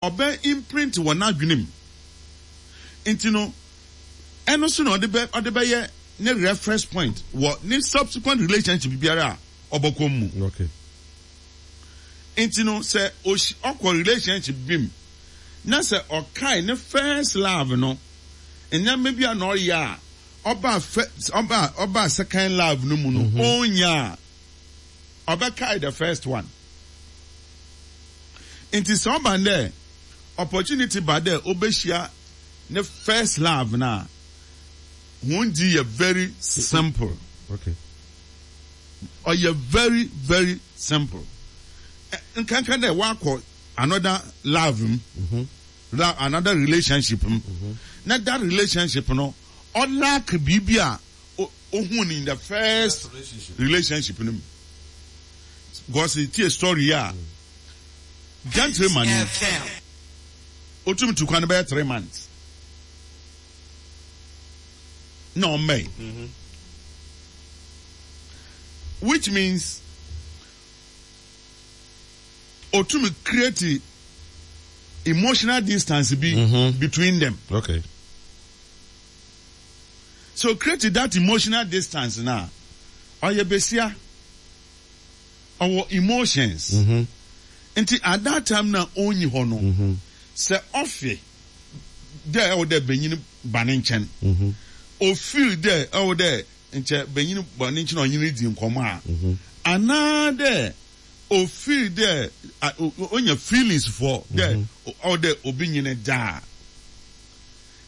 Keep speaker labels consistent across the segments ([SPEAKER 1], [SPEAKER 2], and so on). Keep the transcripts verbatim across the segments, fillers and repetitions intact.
[SPEAKER 1] Ɔbɛ imprint wɔ n'adwene mu. Nti no, ɛno so na ɔde bɛ ɔde bɛyɛ ne reference point wɔ ne subsequent relationship biara a ɔbɛkɔ mu.
[SPEAKER 2] Okay.
[SPEAKER 1] Nti no, sɛ osi ɔkɔ relationship bi mu na sɛ ɔkae ne first love no, nneɛma bi a na ɔyɛ a ɔba fɛ ɔba ɔba second love no mu no, ɔnya a, ɔbɛkae the first one. Nti sɛ ɔba dɛ opportunity ba dɛ ɔbɛhyia ne first love na wɔn di yɛ very simple.
[SPEAKER 2] Okay.
[SPEAKER 1] Ɔyɛ very very simple. Ɛ- nkanka dɛ wakɔ another love mu, la another relationship mu, na that relationship no, ɔlack biribi a o- ohun in the first relationship no mu, because tie story a gentleman yi otumi tu kwan bɛyɛ three months na ɔmmɛn, which means otumi create emotional distance bi between them.
[SPEAKER 2] Okay.
[SPEAKER 1] So create that emotional distance na ɔyɛ besia, ɔwɔ emotions. Nti at that time na ɔnyi hɔ no, sɛ ɔfe dɛ ɛwɔ dɛ benyin ba ne nkyɛn, ofeel dɛ ɛwɔ dɛ nkyɛn benyin ba ne nkyɛn a ɔnye ne di nkɔmɔ a, anaa dɛ ofeel dɛ a- o- o- onya feelings for dɛ ɔwɔ dɛ obi nye ne daa,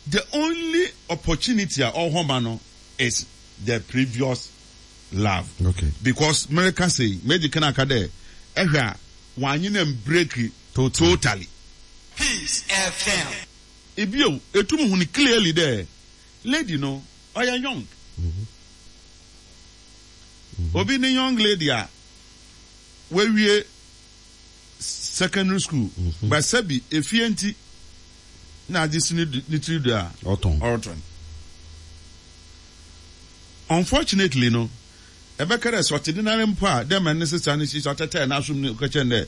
[SPEAKER 1] the only opportunity a ɔwɔ ma no is the previous love.
[SPEAKER 2] Okay.
[SPEAKER 1] Because mmerika sɛ mɛdi kan aka dɛ ɛhwɛ a wɔanye na break
[SPEAKER 2] Totally.
[SPEAKER 1] Totally.
[SPEAKER 3] Peace F M.
[SPEAKER 1] Ebio etum hu no clearly dɛ lady no ɔyɛ young. Obi ne young lady a wawie secondary school, but sɛbi efie nti na agye si ne du- ne tiri do a
[SPEAKER 2] Ɔtɔn.
[SPEAKER 1] ɔretɔn. Unfortunately no, ɛbɛka dɛ sɛ ɔte de nare mpo a, dɛ ma ne sesa no si sɛ ɔtɛtɛɛ n'asom no kɛkyɛn dɛ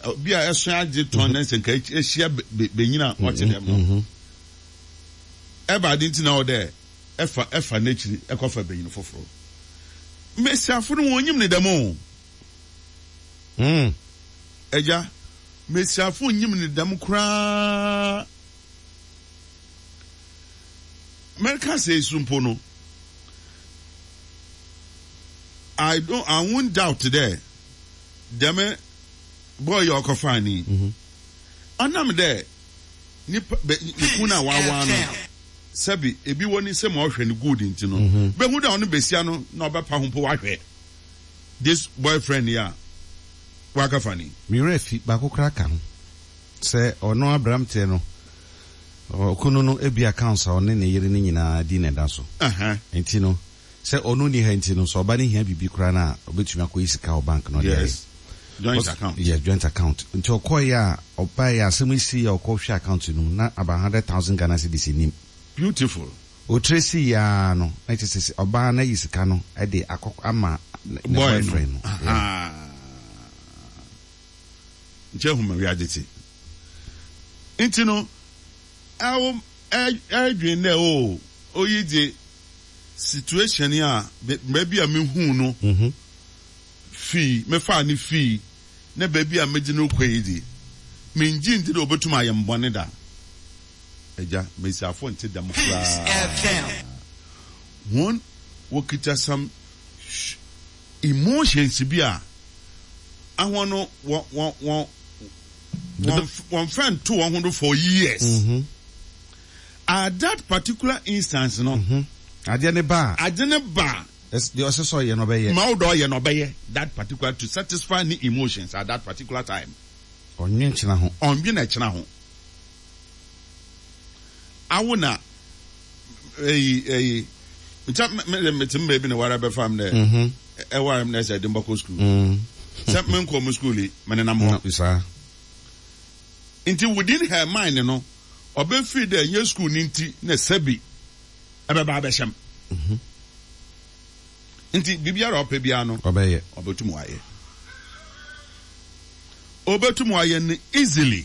[SPEAKER 1] ɛ, bi a ɛso agye tɔn ne nsɛ nka ehyia be- be- benyin a ɔte dɛm no, ɛba ade nti na ɔwɔ dɛ ɛfa ɛfa n'akyiri ɛkɔfa benyin foforɔ. Mmesiafo no wɔn nyim ne dɛm o.
[SPEAKER 2] Mm.
[SPEAKER 1] Ɛgya, mmesiafo nyim ne dɛm koraa. Mɛka sɛ esu mpo no, i don't I won't doubt dɛ dɛm boy yɛ ɔkɔfa ni ɔnam dɛ nipa bɛ ne kun a wawa no, sɛbi ebi wɔ ne nsɛm a ɔhwɛ no good nti no, bɛhu dɛ ɔno besia no na ɔbɛpa ho mpo wahwɛ this boyfriend yi a wakafa ni.
[SPEAKER 2] Mmerɛ fi baako koraa ka ho sɛ ɔno aberanteɛ no, ɔkunu no ebi accounts a ɔne ne yere no nyinaa di na ɛda so.
[SPEAKER 1] Uh-huh.
[SPEAKER 2] Nti no, sɛ ɔno ni ha nti no, sɛ ɔba ne hia biribi koraa no a, ɔbɛtumi akɔyi sika wɔ bank no ɔde ayɛ.
[SPEAKER 1] Yes, joint account.
[SPEAKER 2] Yes, joint account. Nti ɔkɔɔyɛ a ɔbaeɛ, asɛm yi si a ɔkɔhwɛ account no mu na about hundred thousand Ghana cedis nim.
[SPEAKER 1] Beautiful.
[SPEAKER 2] Otire si yaa no na kyerɛ sɛ ɔbaa no ayi sika no de akɔ ama ne ne
[SPEAKER 1] boy
[SPEAKER 2] boyfriend
[SPEAKER 1] no
[SPEAKER 2] no. Yeah.
[SPEAKER 1] Aha. Nkyɛn huma wiadze te nti no, ɛwo ɛdwen dɛ o oyi de situation yi a be- baabi a mehu no
[SPEAKER 2] Mhm.
[SPEAKER 1] fii mefaa ne fii na baabi a megye no kɔ yi de, mengye nti dɛ obetum ayɛ mbɔne da. Agya, mmesiafo nte dɛm
[SPEAKER 3] Peace
[SPEAKER 1] koraa.
[SPEAKER 3] F M.
[SPEAKER 1] Wɔn wɔkita some sh- emotions bi a ahɔn no wɔn wɔn wɔn wɔn wɔn fɛn to wɔn ho do for years.
[SPEAKER 2] Mhm.
[SPEAKER 1] At that particular instance no,
[SPEAKER 2] Adeɛ ne ba a,
[SPEAKER 1] ade ne ba,
[SPEAKER 2] ɛs- deɛ ɔsɛ sɛ ɔyɛ no ɔbɛyɛ.
[SPEAKER 1] Ma wo dɔ ɔyɛ no ɔbɛyɛ that particular to satisfy ne emotions at that particular time.
[SPEAKER 2] Ɔnwe nkyena ho.
[SPEAKER 1] Ɔnwe na ɛkyena ho. Awo na eyi eyi nkyɛn me me te mbɛ bi na wara bɛfa mi dɛ
[SPEAKER 2] Mhm.
[SPEAKER 1] ɛwara mi na ɛsɛ ɛde mbɔkɔ school
[SPEAKER 2] Mm.
[SPEAKER 1] sɛ me nkɔ mu school yi, me nenam hɔ.
[SPEAKER 2] No, saa.
[SPEAKER 1] Nti within her mind no, ɔbɛfiri dɛ nye school ne nti na sɛbi ɛbɛba abɛhyɛm. Nti biribiara a ɔpɛ biara no,
[SPEAKER 2] ɔbɛyɛ.
[SPEAKER 1] Ɔbɛtum wayɛ, ɔbɛtum wayɛ no easily.